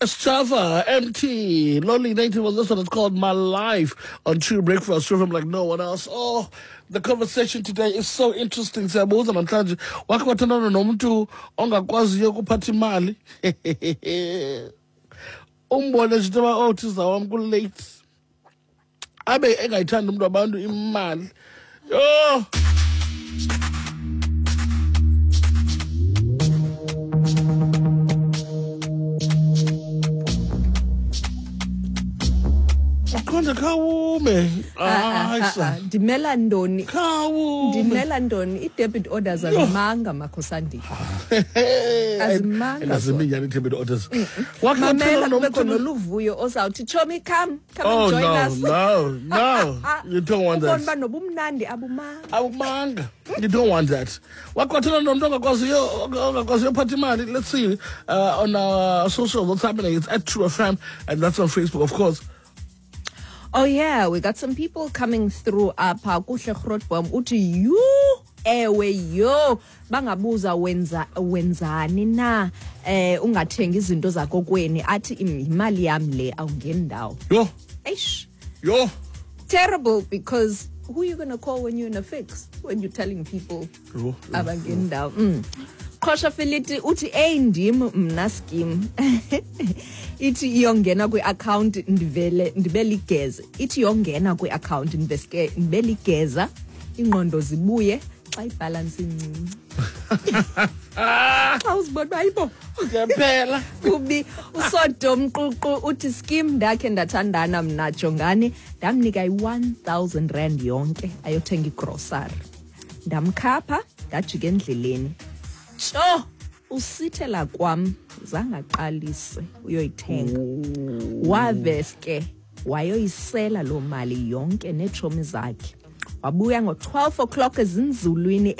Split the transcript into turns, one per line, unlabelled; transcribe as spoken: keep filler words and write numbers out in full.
Sjava, M T, Lonely Native was this one. It's called My Life on True Breakfast. From like no one else. Oh, the conversation today is so interesting. Siyabuza namhlanje, wakhe wathandana nomntu ongakwaziyo ukuphatha imali? Umbone nje uba, oh, thiza wam, kulate, abe engayithandi umntu wabantu imali. Yho! Uqonde khawume. Hayi sa.
Ndimela ntoni?
Khawume.
Ndimela ntoni? I-debit orders azimanga, Makhosandile. Azimanga.
Aziminyani i-debit orders.
Mamela, kubekho noluvuyo ozawuthi, "Chomi, come come
Oh
and join
no,
us."
no, no. You don't want
Ubona
that.
uba nobumnandi abumanga.
Awumanga. You don't want that. Wakwathana nomntu ongakwaziyo ongakwaziyo uphatha imali. Let's see uh, on our social what's happening. It's at True F M and that's on Facebook, of course.
Oh yeah, we got some people coming through apha. Kuhle Grootboom uthi, "Yhu, ewe, yo, bangabuza wenza wenzani na eh ungathengi izinto zakokweni?" Athi, "Imali yam le, awungeni ndawo."
Yho,
Eish.
Yho.
Terrible, because who you going to call when you're in a fix, when you're telling people
Yho.
abangeni ndawo mm. Qhosha Feliti uthi, "Eyi, ndim mna scheme. Ithi iyongena kwi-akhawunti ndivele ndibe ligeze, ithi yongena kwi-akhawunti ndiveske ndibe ligeza, ingqondo zibuye xa ibhalansi incinci, xa uzibona uba hayibo."
Ngempela.
Kubi. Usodom Ququ uthi, "Skim, ndakhe ndathandana mna, jongani, ndamnika i-one thousand rand yonke ayothenga igrosari, ndamkhapha, ndajika endleleni. Tsho usithela kwam, zangaqalise uyoyithenga, waveske wayoyisela loo mali yonke neetshomi zakhe. Wabuya ngo-twelve o'clock ezinzulwini."